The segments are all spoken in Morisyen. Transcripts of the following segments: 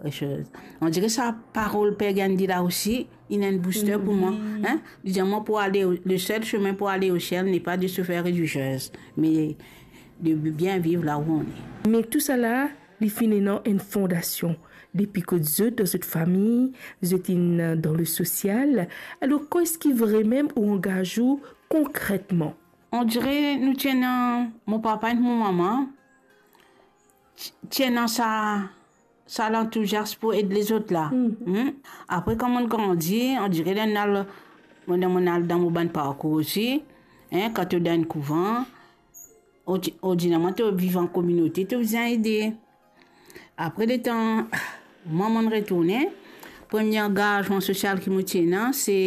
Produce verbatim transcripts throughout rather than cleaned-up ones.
Religieuse. On dirait sa parol Père Gandhi la aussi, il a une booster pour moi. Mhm. Hein? Li dir mwa pou ale, le seul chemin pour aller au ciel n'est pas de se faire religieuse, mais de bien vivre là où on est. Me tousala, li finn ena enn fondasion. Depi kot zot, dan zot fami, zot inn dan le sosial. Alor, kouma eski vremem ou angaz ou konkretman? On dirait nou ti ena, mo papa ek mo mama, ti, ti ena sa, sa lantouziasm pou ed lezot la. Mhm. Hmm? Apre, kan mo'nn grandi, on dirait dan al, mo'nn, mo'nn al dan mo bann parkour osi, hein, kan to dan enn kouvan, ordi-, ordinarman, to viv an kominote, to bizin ede. Apre letan mwa mo'nn retourne, premie angazman sosial ki mo ti ena, se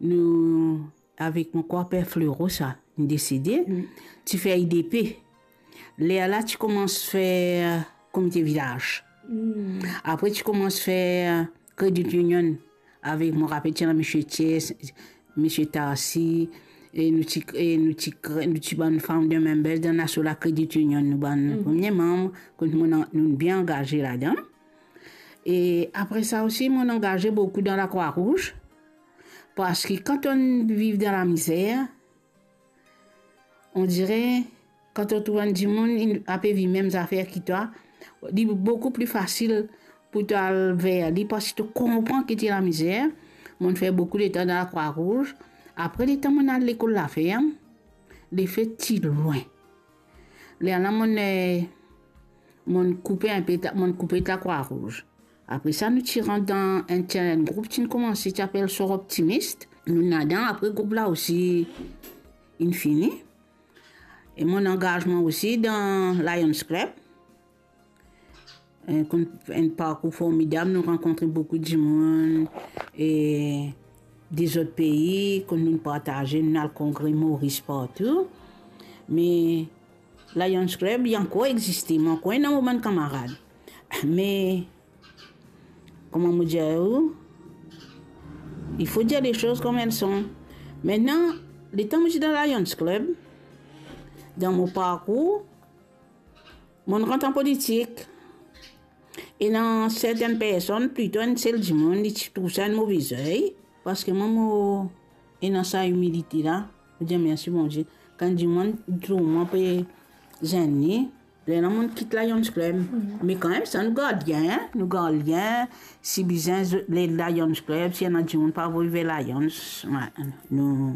nou avek mo krwar per Fleuro sa, li desede, mm, ti fer I D P. Lerla ti koumans fer komite vilaz. Mm. Apre ti koumans fer credit union avek, mo rapel, ti ena misie Thiers, misie Tarsi, e nou ti, e nou ti kre-, nou ti bann founder members dan aso la credit union, nou bann, mhm, premie manm, kot nou, nou bien angaze ladan. E apre sa osi, mo'nn angaze boukou dan Lakrwa Rouz, parski kan to'nn viv dan lamizer, on dirait, kan to trouv enn dimoun, inn, ape viv mem zafer ki twa, li boukou pli fasil pou to al ver li, parski to konpran ki ti lamizer. Mo'nn fer boukou letan dan Lakrwa Rouz. Apre letan mo'nn al lekol laferm, lefe ti lwin. Lerla mo'nn, eh, mo'nn koupe inpe ta-, mo'nn koupe Lakrwa Rouz. Apre sa, nou ti rant dan enn, ti enn group ti'nn koumanse, ti apel Sor Optimist. Nou ladan, apre group la osi inn fini. E mo'nn angazman osi dan Lions Club. Eh, konn enn parkour formidab, nou rankontre boukou dimoun, e dezot pei, konn nou partaze, nou al kongre Moris partou. Me Lions Club, li ankor existe, mo ankor ena mo bann kamarad. Me, kouma mo dir ou, il faut dire les choses comme elles sont. Aster, letan mo ti dan Lions Club, dan mo parkour, mo'nn rant an politik. Ena sertenn personn, plito enn sel dimoun, li ti trouv sa enn move zey, parski mwa mo ena sa imilite la, mo dir mersi Bondie. Kan dimoun trouv mwa pe zenn li, lerla mo'nn kit Lions Club. Mhm. Me kanmem sa, nou gard lien, nou gard lien. Si bizin, zo-, le Lions Club, si ena dimoun pa avoy ver Lions, wi, nou,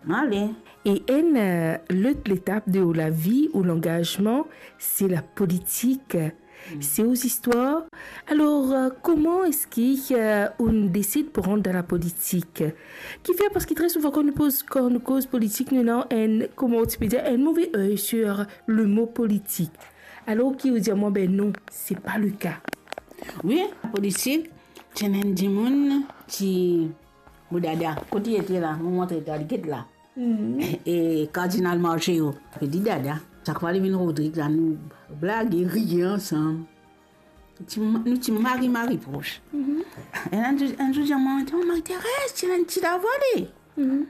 nou ale. E enn, eh, lot letap de ou lavi, ou langazman, se lapolitik. Mm. Se ou zistwar. Alor, eh, kouma eski, eh, ou desid pou rant dan lapolitik? Kifer, parski tre souvan, kan nou poz, kan nou koz politik, nou ena enn, kouma ti pe dir, enn move ey sur le mo politik. Alor ki ou dir mwa, be non, se pa le ka. Wi, politik, ti ena enn dimoun ti, mo dada, kot li ete la, mo montre twa, li get la. Mhm. E Kardinal Marceo, li dir dada, sak fwa li vinn Rodrig la, nou blage, riye ansam. Ti ma-, nou ti mari, mari pros. Mhm. E enn zour, enn zour, dir mwa, "Oh, Marie-Thérèse, ti ena enn ti lavwa li." Mhm.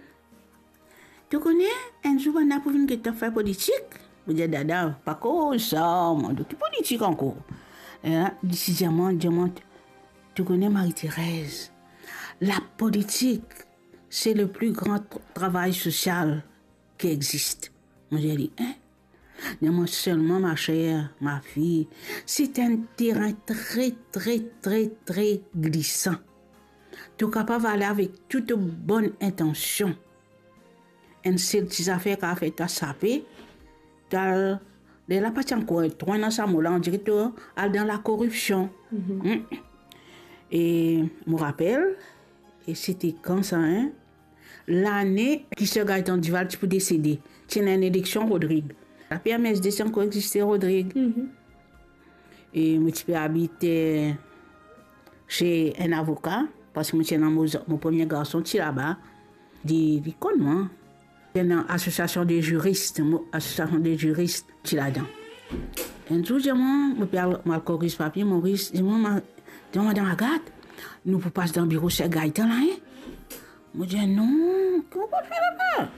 "To kone, enn zour bann la pou vinn get twa fer politik." Mo dir, "Dada, pa koz sa, mwa, de ki politik ankor?" E li ti dir mwa, dir mwa, "To kone, Marie-Thérèse, lapolitik, c'est le plus grand tra-, travail social qui existe." Mo dir li, "Hein?" Li dir mwa, "Seulement, ma chère, ma fille, c'est un terrain très, très, très, très glissant. To kapav ale avek tou to bonn intension. Enn sel ti zafer kapav fer twa sape, to al, lerla pa ti ankor tro ena sa mo la, on dirait to al dan lakoripsion." Mhm. Hmm. E mo rapel, e sete kan sa, hein? Lane ki Sir Gaëtan Duval ti pou desede, ti ena enn eleksion Rodrig. La P M S D ti ankor existe Rodrig. Mhm. E mo ti pe abit, eh, se enn avoka, parski mo ti ena mo, mo premie garson ti laba. Li, li konn mwa. Ti ena asosiasion de ziris, mo, asosiasion de ziris ti ladan. Enn zour, dir mwa, mo pe al, mo al koriz papie, Moris, dir mwa, ma-, dir mwa, "Madan Agathe, nou pou pas dan biro Sir Gaëtan la, hein?" Mo dir, "Non, kouma pou fer laba?"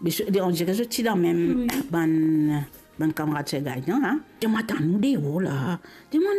Me so-, on dirait zot ti la mem, wi, bann, bann kamarad Sir Gaëtan la. Dir mwa, "Atann nou deor la." Dir mwa,